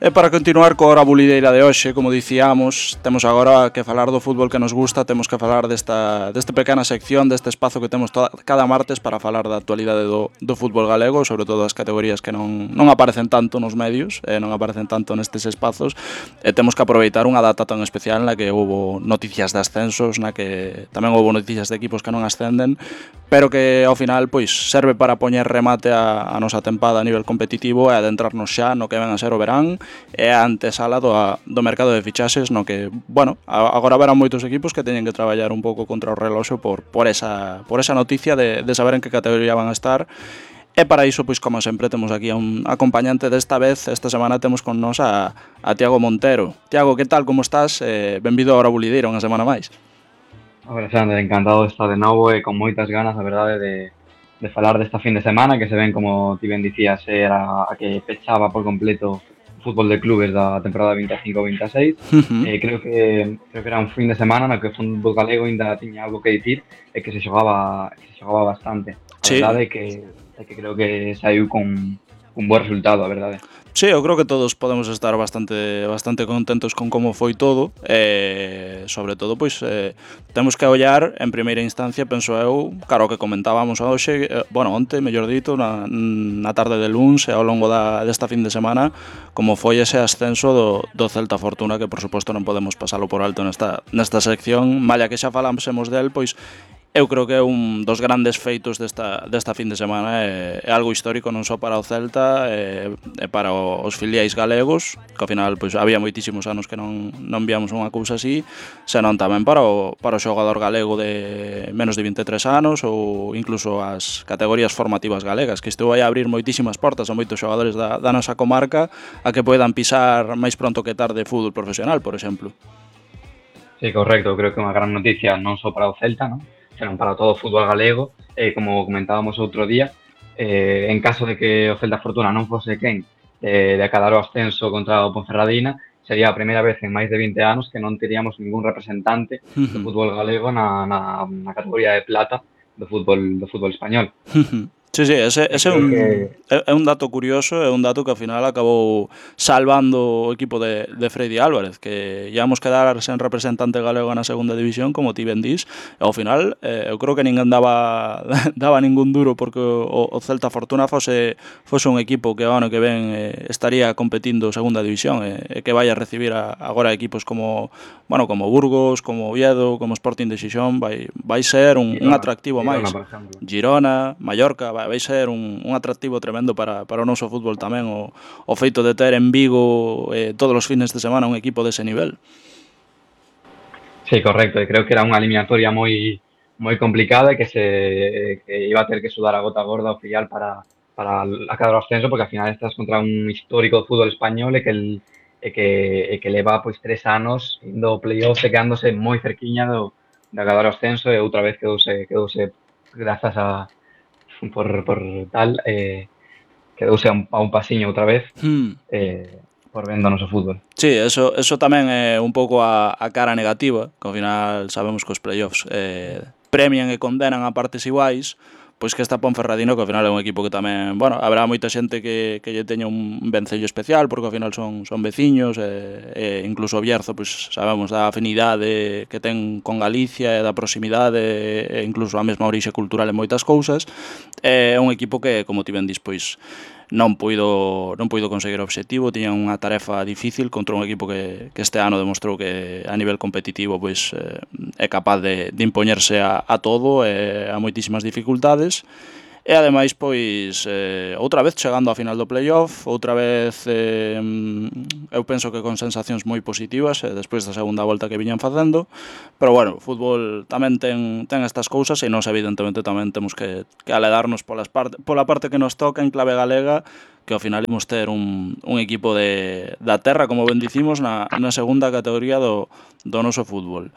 E para continuar coa hora bulideira de hoxe, como dicíamos, temos agora que falar do fútbol que nos gusta, temos que falar desta pequena sección, deste espazo que temos cada martes para falar da actualidade do fútbol galego, sobre todo as categorías que non aparecen tanto nos medios, non aparecen tanto nestes espazos, e temos que aproveitar unha data tan especial na que houve noticias de ascensos, na que tamén houve noticias de equipos que non ascenden, pero que ao final pois serve para poñer remate a nosa tempada a nivel competitivo e adentrarnos xa no que ven a ser o verán e a antesala do mercado de fichaxes no que, bueno, agora verán moitos equipos que teñen que traballar un pouco contra o reloxo por esa noticia de saber en que categoría van a estar. E para iso, pois como sempre, temos aquí a un acompañante desta vez. Esta semana temos con nós a Tiago Montero. Tiago, que tal, como estás? Benvido a Hora Bulideira unha semana máis. Alexandre, encantado de estar de novo e con moitas ganas, a verdade, de falar desta fin de semana que se ven, como ti ben dicías, era a que pechaba por completo o fútbol de clubes da temporada 25-26. Creo que era un fin de semana no que o fútbol galego ainda tiña algo que dicir e que se xogaba bastante. A Sí. verdade é que creo que saiu con un bo resultado, a verdade. Sí, eu creo que todos podemos estar bastante contentos con como foi todo, sobre todo, pois, temos que ollar en primeira instancia, penso eu, claro, que comentábamos hoxe, onte, mellor dito, na tarde de luns e ao longo desta fin de semana, como foi ese ascenso do Celta Fortuna, que por suposto non podemos pasalo por alto nesta sección, malla que xa falásemos del, pois, eu creo que é un dos grandes feitos desta fin de semana, é algo histórico non só para o Celta e para os filiais galegos, que ao final pois había moitísimos anos que non víamos unha cousa así, senón tamén para o xogador galego de menos de 23 anos ou incluso as categorías formativas galegas, que isto vai a abrir moitísimas portas a moitos xogadores da nosa comarca a que poidan pisar máis pronto que tarde fútbol profesional, por exemplo. Sí, correcto, creo que é unha gran noticia non só para o Celta, non? Senón para todo o fútbol galego, como comentábamos outro día, en caso de que o Celta Fortuna non fose quen de acadar o ascenso contra o Ponferradina, sería a primeira vez en máis de 20 anos que non teríamos ningún representante do fútbol galego na categoría de plata do fútbol español. Sí, ese é un dato curioso, é un dato que ao final acabou salvando o equipo de Freddy Álvarez, que íamos quedar sen representante galego na segunda división, como ti ben dís, e ao final eu creo que ninguén daba ningún duro porque o Celta Fortuna fose un equipo que o ano que ven estaría competindo segunda división e que vai a recibir agora equipos como Burgos, como Oviedo, como Sporting de Xixón, vai ser un atractivo máis. Girona, Mallorca, vai ser un atractivo tremendo para o noso fútbol tamén o feito de ter en Vigo todos os fines de semana un equipo dese nivel. Sí, correcto, e creo que era unha eliminatoria moi complicada e que iba a ter que sudar a gota gorda o filial para acadar o ascenso, porque ao final estás contra un histórico do fútbol español e que leva pois 3 anos indo ao playoff e quedándose moi cerquiña de acadar o ascenso e outra vez quedouse grazas a por tal, quedouse a un pasiño outra vez por vendo o noso fútbol. Sí, eso tamén é un pouco a cara negativa, que ao final sabemos que os playoffs premian e condenan a partes iguais, pois que esta Ponferradina, que ao final é un equipo que tamén, habrá moita xente que lle teña un vencello especial, porque ao final son veciños, e incluso o Bierzo, pois sabemos da afinidade que ten con Galicia e da proximidade e incluso a mesma orixe cultural en moitas cousas. É un equipo que, como ti ben dis, pois non puido conseguir o obxectivo, tiña unha tarefa difícil contra un equipo que este ano demostrou que a nivel competitivo pois é capaz de impoñerse a todo e a moitísimas dificultades. E ademais, pois, outra vez chegando á final do playoff, outra vez eu penso que con sensacións moi positivas despois da segunda volta que viñan facendo, pero bueno, o fútbol tamén ten estas cousas e nós evidentemente tamén temos que aledarnos pola parte que nos toca en clave galega, que ao final imos ter un equipo da terra, como ben dicimos, na segunda categoría do noso fútbol.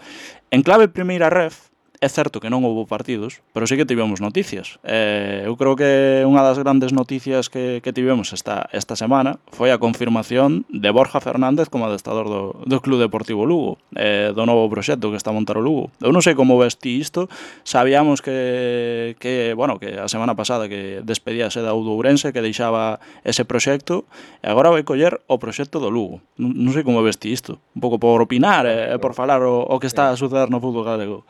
En clave primeira ref, é certo que non houve partidos, pero sí que tivemos noticias. Eu creo que unha das grandes noticias que tivemos esta semana foi a confirmación de Borja Fernández como adestrador do Club Deportivo Lugo, do novo proxecto que está a montar o Lugo. Eu non sei como ves ti isto, sabíamos que a semana pasada que despedíase da Ourense, que deixaba ese proxecto, e agora vai coller o proxecto do Lugo. Non sei como ves ti isto, un pouco por opinar e por falar o que está a suceder no fútbol galego.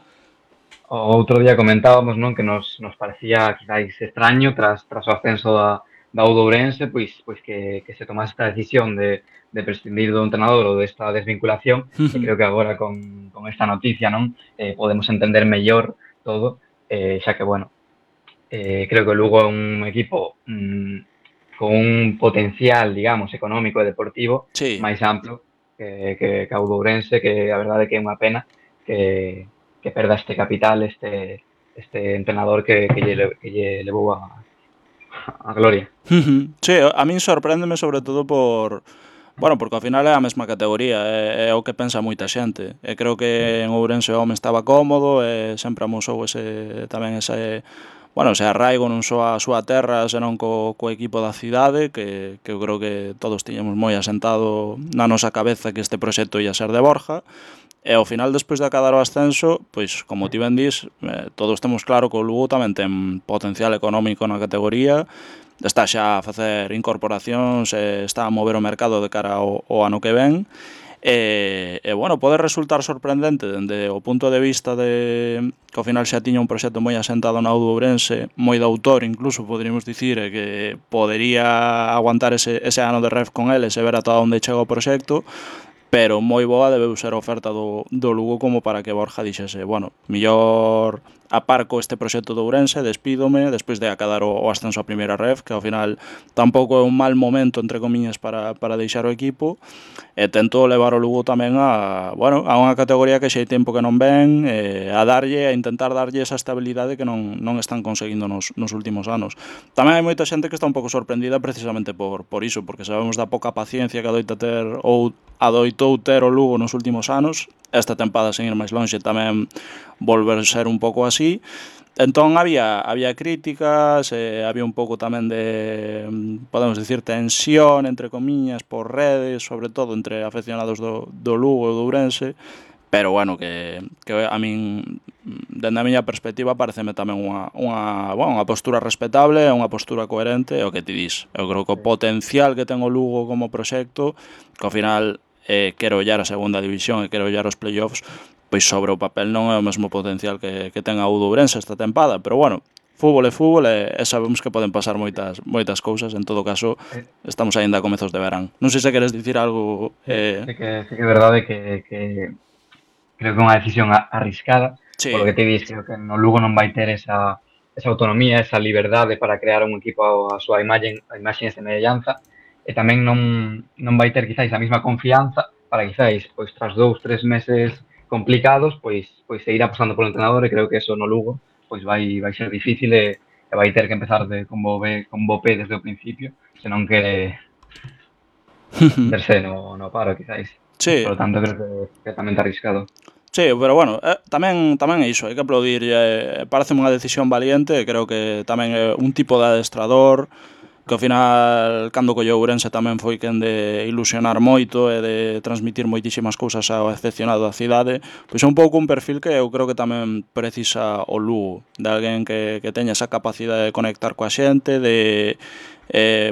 O outro día comentábamos, non, que nos parecía quizáis extraño tras o ascenso da Ourense, pois que se tomase esta decisión de prescindir do entrenador ou desta desvinculación, e creo que agora con esta noticia, non, podemos entender mellor todo, xa que, bueno, creo que o Lugo é un equipo con un potencial, digamos, económico e deportivo máis amplo que a Ourense, que a verdade é que é unha pena que perda este capital, este entrenador que lle levou a gloria. Sí, a min sorpréndeme sobre todo porque ao final é a mesma categoría, é o que pensa moita xente. E creo que en Ourense o home estaba cómodo e sempre amosou ese arraigo non só a súa terra, senón co equipo da cidade, que eu creo que todos tiñamos moi asentado na nosa cabeza que este proxecto ia ser de Borja. E ao final, despois de acadar o ascenso, pois, como ti ben dís, todos temos claro que o Lugo tamén ten potencial económico na categoría, está xa a facer incorporacións, está a mover o mercado de cara ao ano que ven, pode resultar sorprendente dende o punto de vista de que ao final xa tiña un proxecto moi asentado na Ourense, moi de autor incluso, poderíamos dicir, que podería aguantar ese ano de ref con ele, se ver ata onde chega o proxecto, pero moi boa debeu ser a oferta do Lugo como para que Borja dixese, mellor aparco este proxecto de Ourense, despídome, despois de acadar o ascenso a primeira ref, que ao final tampouco é un mal momento, entre comiñas, para deixar o equipo, e tentou levar o Lugo tamén a unha categoría que xa hai tempo que non ven, a intentar darlle esa estabilidade que non están conseguindo nos últimos anos. Tamén hai moita xente que está un pouco sorprendida precisamente por iso, porque sabemos da pouca paciencia que adoitou ter o Lugo nos últimos anos, esta tempada sen ir máis lonxe tamén volver ser un pouco así. Entón había críticas, había un pouco tamén de, podemos dicir, tensión, entre comiñas, por redes, sobre todo entre afeccionados do Lugo e do Ourense, pero que a min, dende a miña perspectiva, pareceme tamén unha postura respetable, unha postura coherente, é o que ti dis. Eu creo que o potencial que ten o Lugo como proxecto, que ao final quero ollar a segunda división e quero ollar os playoffs, pois sobre o papel non é o mesmo potencial que ten a Ourense esta tempada, pero fútbol é fútbol e sabemos que poden pasar moitas cousas, en todo caso estamos aínda a comezos de verán. Non sei se queres dicir algo. Sí que é verdade que creo que é unha decisión arriscada, polo que te dis, creo que no Lugo non vai ter esa autonomía, esa liberdade para crear un equipo a súa imaxe e semellanza, e tamén non vai ter quizáis a mesma confianza para quizáis, pois tras 2-3 meses complicados, pois seguir apostando polo entrenador, e creo que eso no Lugo pois vai ser difícil e vai ter que empezar con bo pé desde o principio, se non quere verse no paro, quizáis. Sí. Por lo tanto, creo que é tamén arriscado. Sí, pero tamén é iso, hai que aplaudir, pareceme unha decisión valiente, creo que tamén é un tipo de adestrador que ao final, cando colleu Ourense tamén foi quen de ilusionar moito e de transmitir moitísimas cousas ao afeccionado da cidade, pois é un pouco un perfil que eu creo que tamén precisa o Lugo, de alguén que teña esa capacidade de conectar coa xente, de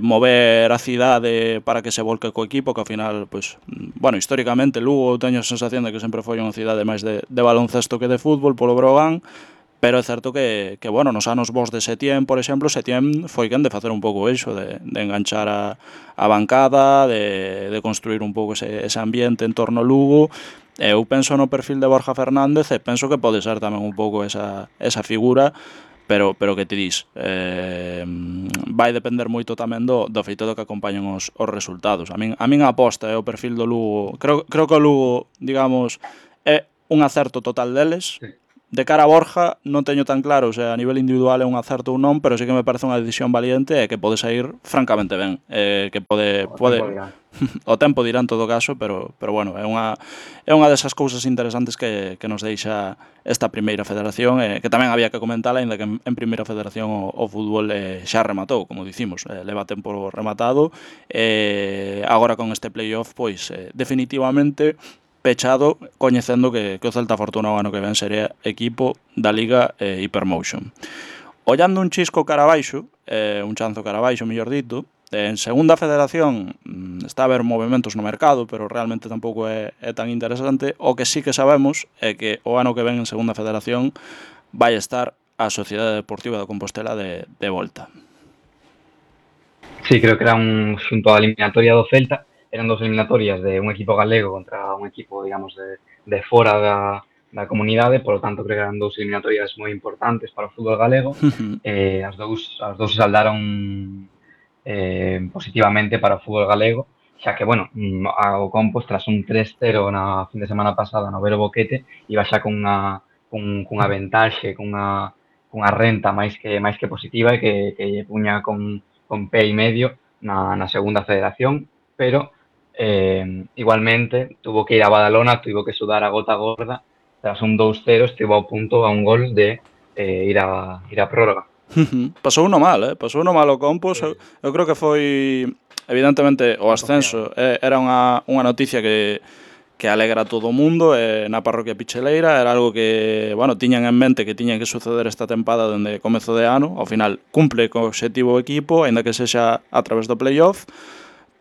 mover a cidade para que se volque co equipo, que ao final, históricamente Lugo teño a sensación de que sempre foi unha cidade máis de baloncesto que de fútbol polo Brogan, pero é certo que nos anos bons de Setién, por exemplo, Setién foi quen de facer un pouco iso, de enganchar a bancada, de construir un pouco ese ambiente en torno ao Lugo. Eu penso no perfil de Borja Fernández e penso que pode ser tamén un pouco esa figura, pero que ti dis, vai depender moito tamén do feito do que acompañen os resultados. A min a aposta é o perfil do Lugo. Creo que o Lugo, digamos, é un acerto total deles. de cara a Borja non teño tan claro se a nivel individual é un acerto ou non, pero sí que me parece unha decisión valiente e que pode sair francamente ben, que pode o tempo dirá en todo caso, pero bueno, é unha desas cousas interesantes que nos deixa esta primeira federación, que tamén había que comentar, aínda que en primeira federación o fútbol xa rematou, como dicimos, leva tempo rematado, agora con este playoff, pois definitivamente pechado, coñecendo que o Celta Fortuna o ano que ven sería equipo da Liga Hypermotion. Ollando un chisco cara abaixo, un chanzo cara abaixo, mellor dito, en segunda federación está a haber movimentos no mercado, pero realmente tampouco é tan interesante. O que sí que sabemos é que o ano que ven en segunda federación vai estar a Sociedade Deportiva da Compostela de volta. Sí, creo que era xunto á eliminatoria do Celta, eran dos eliminatorias de un equipo galego contra un equipo, digamos, de fora da comunidade, por lo tanto creo que eran dous eliminatorias moi importantes para o fútbol galego. As dous se saldaron positivamente para o fútbol galego, xa que, bueno, o Compos, tras un 3-0 na fin de semana pasada no Vero Boquete, iba xa cunha ventaxe, cunha renta máis que positiva e que lle puña con pé e medio na segunda federación, pero igualmente tuvo que ir a Badalona, tuvo que sudar a gota gorda, tras un 2-0 estivo a punto a un gol de ir a prórroga. Pasou uno mal, pasou uno mal o Compos. Eu creo que foi, evidentemente, o ascenso era unha noticia que alegra a todo o mundo, na parroquia Picheleira era algo que, bueno, tiñan en mente que tiña que suceder esta tempada dende comezo de ano. Ao final cumpre co obxectivo o equipo, aínda que sexa a través do playoff,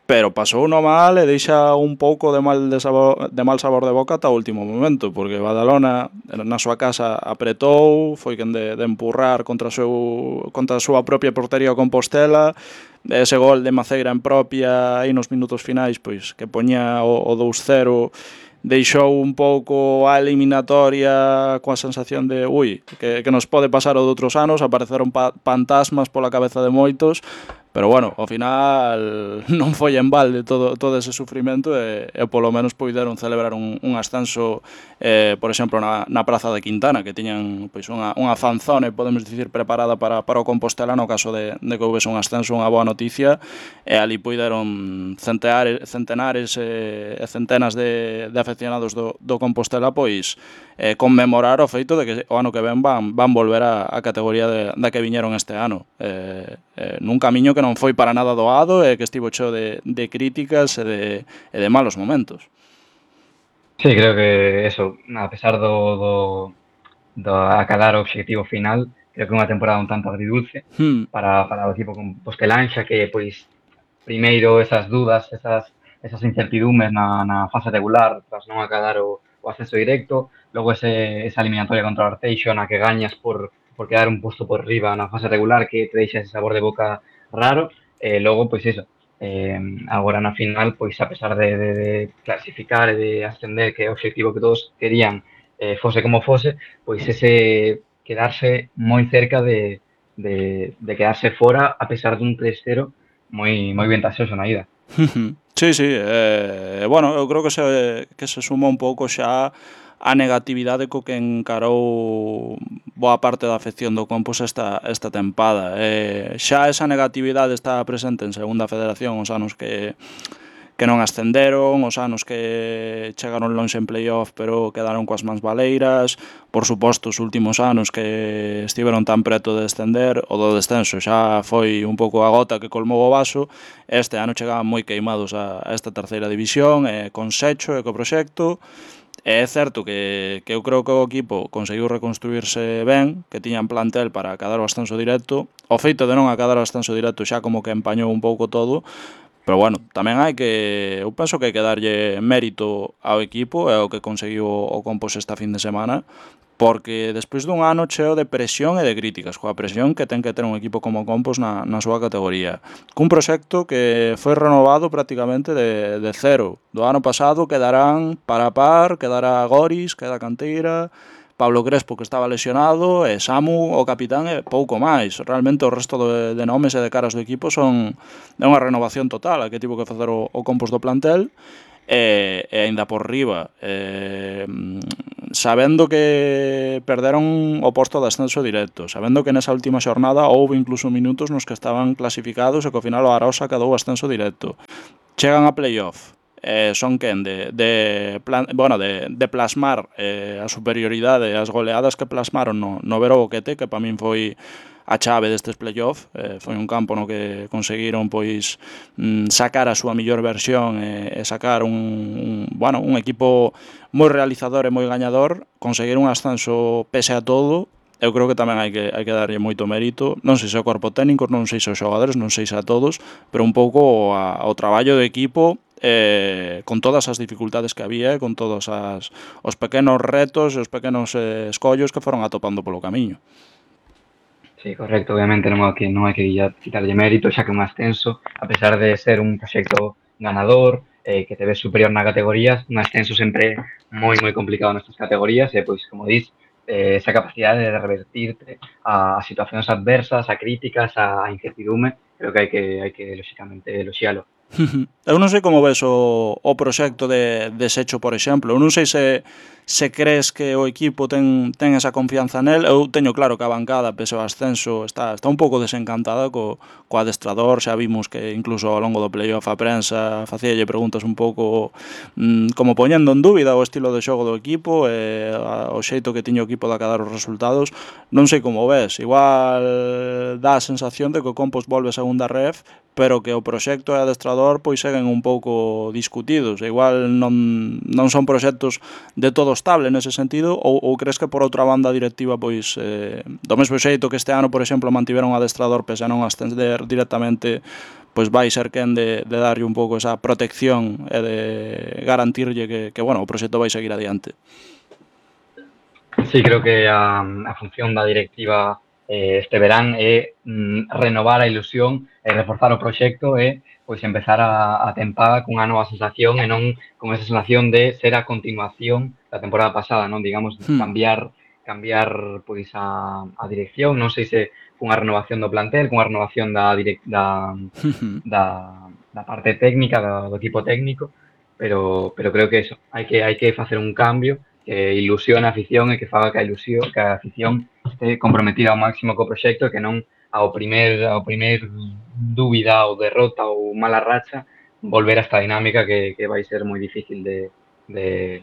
pero pasou uno mal e deixa un pouco de mal sabor de boca ata o último momento, porque Badalona na súa casa apretou, foi quen de empurrar contra a súa propia portería o Compostela. Ese gol de Maceira en propia aí nos minutos finais, pois que poñía o 2-0, deixou un pouco a eliminatoria coa sensación de que nos pode pasar o de outros anos. Apareceron fantasmas pola cabeza de moitos, pero bueno, ao final non foi en balde todo ese sufrimento e polo menos poideron celebrar un ascenso, por exemplo, na Praza de Quintana, que tiñan pois unha fanzone, podemos dicir, preparada para o Compostela no caso de que houvese un ascenso, unha boa noticia, e ali poideron centenares e centenas de afeccionados do Compostela pois conmemorar o feito de que o ano que ven van volver á categoría da que viñeron este ano, nun camiño que non foi para nada doado e que estivo cheo de críticas e de malos momentos. Sí, creo que eso, a pesar do acabar o obxectivo final, creo que é unha temporada un tanto agridulce para o equipo compostelán, xa que, pois, primeiro esas dudas, esas incertidumes na fase regular, tras non acabar o ascenso directo, logo esa eliminatoria contra o Arteixo na que gañas por quedar un posto por riba na fase regular que te deixa ese sabor de boca raro, logo, pois iso, agora na final, pois a pesar de clasificar e de ascender, que é o objetivo que todos querían, fose como fose, pois ese quedarse moi cerca de quedarse fora a pesar dun 3-0 moi ventaxoso na ida. Sí, bueno, eu creo que se suma un pouco xa a negatividade co que encarou boa parte da afección do Compos esta tempada. Xa esa negatividade está presente en segunda federación os anos que non ascenderon, os anos que chegaron lonxe en playoff pero quedaron coas mans baleiras, por suposto os últimos anos que estiveron tan preto de descender, o do descenso xa foi un pouco a gota que colmou o vaso. Este ano chegaban moi queimados a esta terceira división, con Secho e co proxecto. É certo que eu creo que o equipo conseguiu reconstruirse ben, que tiñan plantel para acadar o ascenso directo. O feito de non acadar o ascenso directo xa como que empañou un pouco todo, pero bueno, tamén eu penso que hai que darlle mérito ao equipo e ao que conseguiu o Compos esta fin de semana, porque despois dun ano cheo de presión e de críticas, coa presión que ten que ter un equipo como o Compos na súa categoría, cun proxecto que foi renovado prácticamente de cero. Do ano pasado quedarán Parapar, quedará Goris, queda Canteira, Pablo Crespo, que estaba lesionado, e Samu, o capitán, e pouco máis. Realmente o resto de nomes e de caras do equipo son unha renovación total a que tivo que facer o Compos do plantel, e aínda por riba sabendo que perderon o posto de ascenso directo, sabendo que nesa última xornada houve incluso minutos nos que estaban clasificados e que ao final o Arosa quedou o ascenso directo. Chegan a playoff, son quen de plasmar a superioridade e as goleadas que plasmaron no Vero Boquete, que para min foi a chave destes playoff. Foi un campo no que conseguiron pois sacar a súa mellor versión e sacar un equipo moi realizador e moi gañador, conseguir un ascenso pese a todo. Eu creo que tamén hai que darlle moito mérito, non sei se ao corpo técnico, non sei se aos xogadores, non sei se a todos, pero un pouco ao traballo do equipo, con todas as dificultades que había, con todos os pequenos retos e os pequenos escollos que foron atopando polo camiño. Sí, correcto, obviamente non hai que quitarlle mérito, xa que un ascenso, a pesar de ser un proxecto ganador, que te ves superior na categoría, un ascenso sempre é moi complicado nestas categorías, e pois, como dis, esa capacidade de revertirte a situacións adversas, a críticas, a incertidume, creo que hai que lóxicamente eloxialo. Eu non sei como ves o proxecto de Secho, por exemplo. Eu non sei se crees que o equipo ten esa confianza nel. Eu teño claro que a bancada, pese ao ascenso, está un pouco desencantada co adestrador. Xa vimos que incluso ao longo do playoff a prensa facíalle preguntas un pouco como poñendo en dúbida o estilo de xogo do equipo e o xeito que tiña o equipo de acadar os resultados. Non sei como ves. Igual dá a sensación de que o Compos volve a segunda ref, pero que o proxecto e o adestrador pois seguen un pouco discutidos. Igual non son proxectos de todo estable nese sentido, ou crees que por outra banda directiva pois do mesmo xeito que este ano, por exemplo, mantiveron o adestrador pese a non ascender directamente, pois vai ser quen de darlle un pouco esa protección e de garantirlle que o proxecto vai seguir adiante? Sí, creo que a función da directiva este verán é renovar a ilusión e reforzar o proxecto e pois empezar a tempada cunha nova sensación e non con esa sensación de ser a continuación da temporada pasada, non, digamos, cambiar pois a dirección, non sei se cunha renovación do plantel, cunha renovación da parte técnica, do equipo técnico, pero creo que eso, hai que facer un cambio que ilusione a afición e que faga que a afición este comprometida ao máximo co proxecto e que non ao primer dúbida ou derrota ou mala racha volver a esta dinámica que vai ser moi difícil de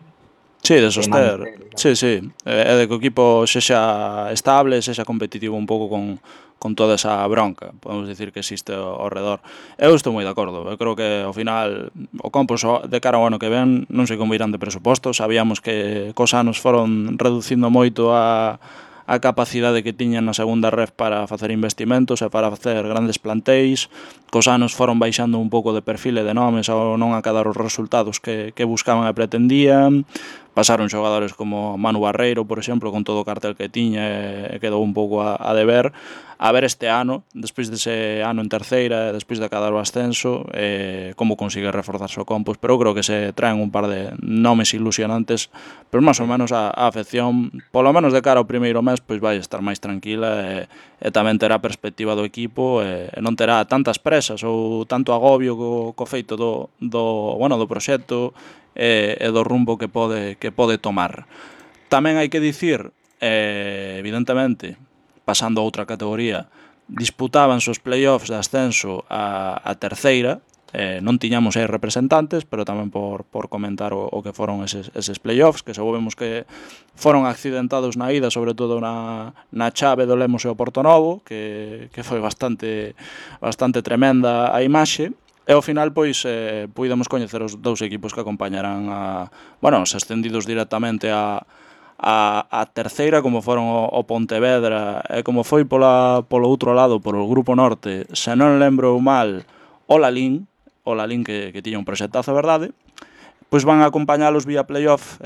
Sí, de soster. manter. Sí, e de que o equipo sexa estable, sexa competitivo un pouco con toda esa bronca, podemos dicir, que existe ao redor. Eu estou moi de acordo. Eu creo que ao final o Compos de cara ao ano que ven non sei como irán de presuposto. Sabíamos que cos anos foron reducindo moito a capacidade que tiñan na segunda ref para facer investimentos e para facer grandes plantéis. Cos anos foron baixando un pouco de perfil e de nomes ao non acadar os resultados que buscaban e pretendían. Pasaron xogadores como Manu Barreiro, por exemplo, con todo o cartel que tiña, e quedou un pouco a deber. A ver este ano, despois dese ano en terceira, despois de acadar o ascenso, como consigue reforzarse o Compos. Pero eu creo que se traen un par de nomes ilusionantes, pero máis ou menos a afección, polo menos de cara ao primeiro mes, pois vai estar máis tranquila e tamén terá perspectiva do equipo e non terá tantas presas ou tanto agobio co feito do proxecto e do rumbo que pode tomar. Tamén hai que dicir, evidentemente, pasando a outra categoría, disputábanse os playoffs de ascenso a terceira, non tiñamos aí representantes, pero tamén por comentar o que foron eses playoffs, que sabemos que foron accidentados na ida, sobre todo na chave do Lemos e o Portonovo, que foi bastante tremenda a imaxe. E ao final, pois, puidemos coñecer os dous equipos que acompañarán os ascendidos directamente a terceira, como foron o Pontevedra, e como foi polo outro lado, polo Grupo Norte, se non lembro mal, o Lalín que tiña un proxectazo, verdade, pois van a acompañalos vía playoff.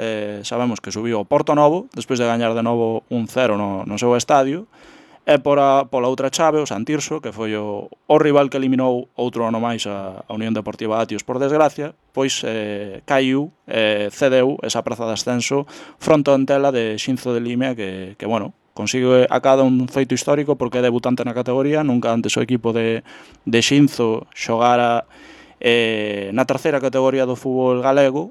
Sabemos que subiu o Portonovo, despois de gañar de novo 1-0 no seu estadio, e pola outra chave, o Santirso, que foi o rival que eliminou outro ano máis a Unión Deportiva Atios, por desgracia, pois caiu, cedeu esa praza de ascenso fronte ao Antela de Xinzo de Limia, que consigue a cada un feito histórico porque é debutante na categoría. Nunca antes o equipo de Xinzo xogara na terceira categoría do fútbol galego,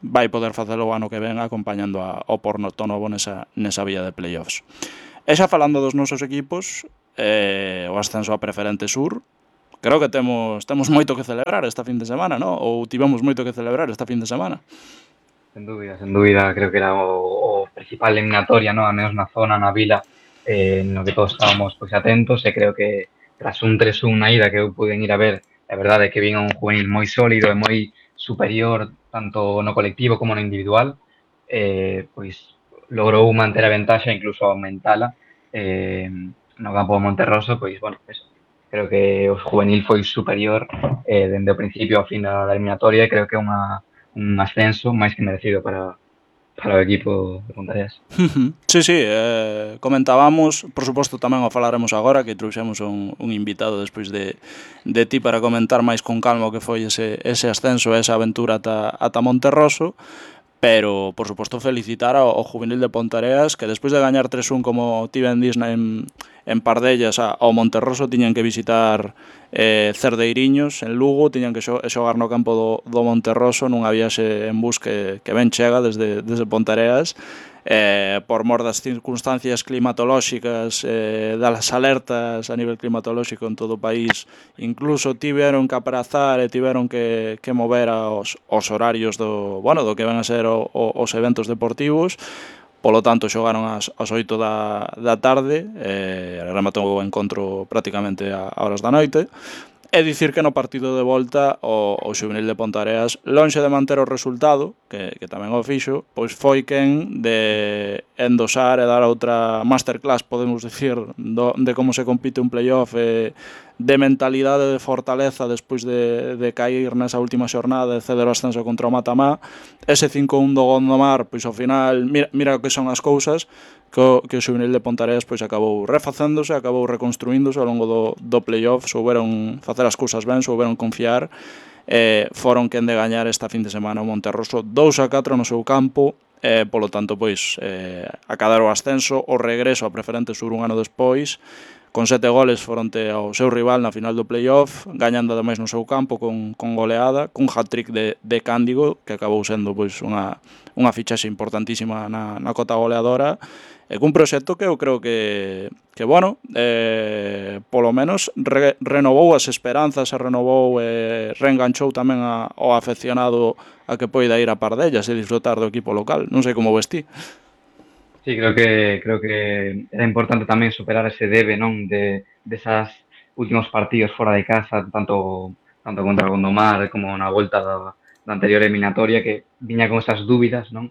vai poder facelo o ano que ven acompañando ao Porto Novo nesa vía de playoffs. E xa falando dos nosos equipos, o ascenso a Preferente Sur, creo que temos moito que celebrar esta fin de semana, non? Ou tivemos moito que celebrar esta fin de semana. Sen dúbida, creo que era o principal eliminatoria, ¿no? A menos na zona, na vila, no que todos estábamos pois atentos, e creo que tras un 3-1 na ida que eu pude ir a ver, a verdade é que vin un juvenil moi sólido e moi superior tanto no colectivo como no individual, pois logrou manter a ventaxa, incluso aumentala, no campo de Monterroso, pois, bueno, eso. Creo que o juvenil foi superior dende o principio ao fin da eliminatoria, e creo que é un ascenso máis que merecido para o equipo de Pontareas. Sí, comentábamos, por suposto tamén o falaremos agora, que trouxemos un invitado despois de ti para comentar máis con calma o que foi ese ascenso, esa aventura ata Monterroso, pero, por suposto, felicitar ao juvenil de Pontareas, que despois de gañar 3-1 como ti ben dis en Pardellas ao Monterroso, tiñan que visitar Cerdeiriños en Lugo, tiñan que xogar no campo do Monterroso nunha viaxe en bus que ben chega desde Pontareas, por mor das circunstancias climatolóxicas, das alertas a nivel climatolóxico en todo o país, incluso tiveron que aprazar e tiveron que mover os horarios do que van a ser os eventos deportivos. Polo tanto, xogaron ás 8 da tarde, rematou o encontro prácticamente a horas da noite. É dicir que no partido de volta o xuvenil de Pontareas, lonxe de manter o resultado, que tamén o fixo, pois foi quen de endosar e dar outra masterclass, podemos dicir, de como se compite un playoff, de mentalidade de fortaleza despois de cair nesa última xornada e ceder o ascenso contra o Matamá. Ese 5-1 do Gondomar, pois ao final, mira o que son as cousas, que o xuvenil de Pontareas pois acabou refacéndose, acabou reconstruíndose ao longo do playoff, souberon facer as cousas ben, souberon confiar, foron quen de gañar esta fin de semana o Monterroso 2-4 no seu campo, polo tanto pois acadar o ascenso, o regreso a Preferente Sur un ano despois, con 7 goles fronte ao seu rival na final do playoff, gañando ademais no seu campo con goleada, cun hat-trick de Cándigo, que acabou sendo pois unha fichaxe importantísima na cota goleadora, e cun proxecto que eu creo que polo menos renovou as esperanzas e renovou reenganchou tamén ao afeccionado a que poida ir a Pardellas e disfrutar do equipo local. Non sei como ves ti. Sí, creo que era importante tamén superar ese debe, non, desas últimos partidos fora de casa, tanto contra o Gondomar como na volta da anterior eliminatoria, que viña con esas dúbidas, non?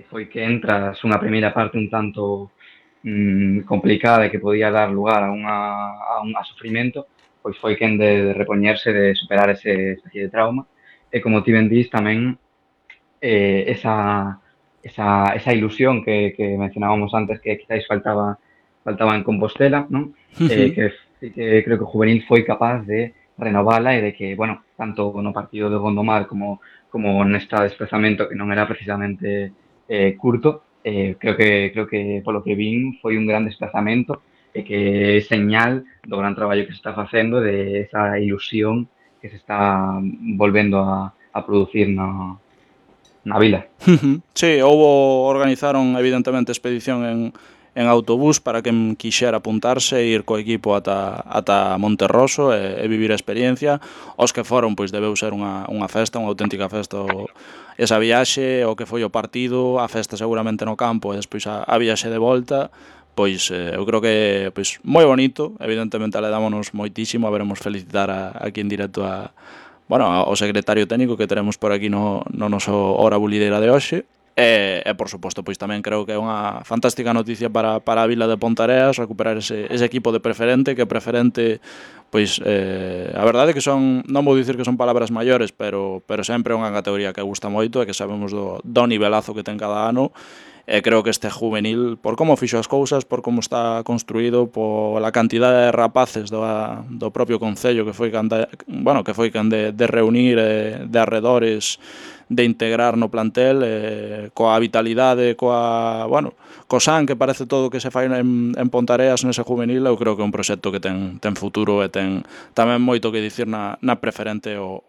Foi que tras unha primeira parte un tanto complicada e que podía dar lugar a un sufrimento, pois foi quen de repoñerse, de superar ese especie de trauma, e como ti ben dís tamén esa ilusión que mencionábamos antes que quizáis faltaba en Compostela, non? Que creo que o juvenil foi capaz de renovala e de que, bueno, tanto no partido de Gondomar como neste desplazamento que non era precisamente curto, creo que polo que vin foi un gran desplazamento e que é señal do gran traballo que se está facendo, de esa ilusión que se está volvendo a producir na vila. Sí, organizaron evidentemente expedición en autobús para quen quixera apuntarse e ir co equipo ata Monterroso e vivir a experiencia. Os que foron, pois debeu ser unha festa, unha auténtica festa esa viaxe, o que foi o partido, a festa seguramente no campo e despois a viaxe de volta. Pois eu creo que pois moi bonito, evidentemente aledámonos moitísimo, haberemos felicitar aquí en directo ao secretario técnico que teremos por aquí no noso Hora Bulideira de hoxe. E por suposto, pois tamén creo que é unha fantástica noticia para a vila de Pontareas recuperar ese equipo de Preferente, que Preferente, pois a verdade é que son, non vou dicir que son palabras maiores, pero sempre é unha categoría que gusta moito e que sabemos do nivelazo que ten cada ano. E creo que este juvenil, por como fixo as cousas, por como está construído, pola cantidade de rapaces do propio concello que foi can de reunir de arredores, de integrar no plantel, coa vitalidade, co san que parece todo que se fai en Pontareas nese juvenil. Eu creo que é un proxecto que ten futuro e ten tamén moito que dicir na Preferente o